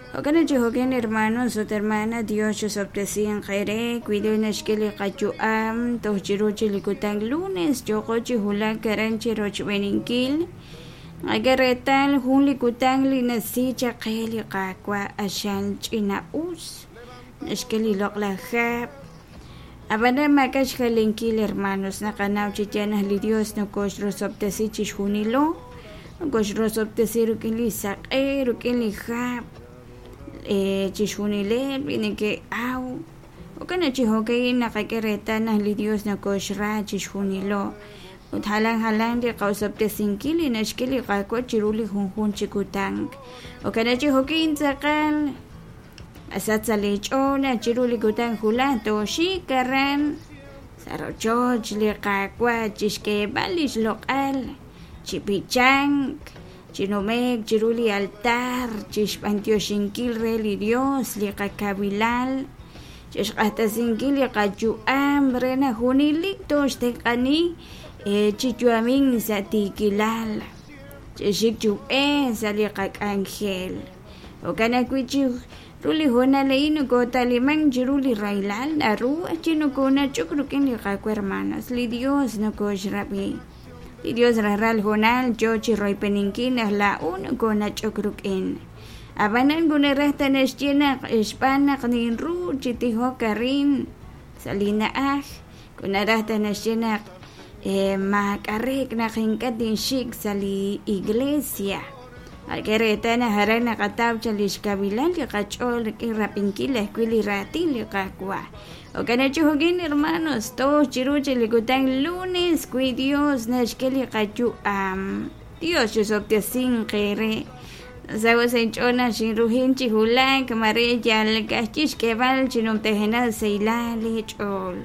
Jo'kan naq chi jo'kan hermanos ut hermana, Dios chosob'tesinq eere wi Dios naxk'e li qayu'am toj chiru chi li kutan lunes yooqo chi wulak aran chi rochb'eeninkil. Naqak'e reetal jun li kutan li nasi chaq qe li Qaawa' q'axal ch'ina-us, naxk'e li loq'laj hab'. Ab'anan maak'a' xjalenkil hermanos, naqanaw chi yaal naq li Dios nokoxrosob'tesi chixjunilo, nokoxrosob'tesi rik'in li saq'e, rik'in li hab', chixjunileb' li neke'aw. Jo'kan naq chi jo'ka'in naqak'e reetal naq li Dios nokoxra chixjunilo ut jalan jalan li qosob'tesinkil li naxk'e li Qaawa' chiru li junjunq chi kutan. Jo'kan naq chi jo'ka'in tz'aqal Masach sa' leech'ool naq chiru li kutan wulaj tooxik aran sa' rochoch li Qaawa' chi xk'eeb'al li xloq'al, chi b'ichank, chi nume'k chiru li altar, chi xb'anyoxinkil re li Yos li qakawilal, chi xq'axtesinkil li qayu'am re naq junelik tooxtenq'ani chi yu'amink sa' tiikilal, chi xik chi ub'ej sa' li qak'anjel. Jo'kan ajwi' chi ru li hoonal a'in nokoota'limank chiru li rahilal naru chi nokoonach'ok rik'in li Qaawa' hermanos, li Dios nokooxrab'i. Li Dios rajlal hoonal yoo chi royb'eninkil naq laa'o nokoonach'ok rik'in. Ab'anan moko naraj ta naxye naq xb'aan naq ninru chi tijok arin sa' li na'aj, moko naraj ta naxye naq maak'a' reek' naq ink'a' tinxik sa' li iglesia. K'e reetal naq aran naqataw chaq li xkawilal li qach'ool rik'in rab'inkil ajwi' li raatin li Qaawa'. Jo'kan naq chi jo'kin hermanos, toj chiru chik li kutan lunes wi Dios naxk'e li qayu'am. Dios chisob'tesinq eere. Nasaho' sa' inch'ool naq xinruhin chi wulak, mare yal ka'ajwi' xk'eeb'al chi numtajenaq sahilal leech'ool.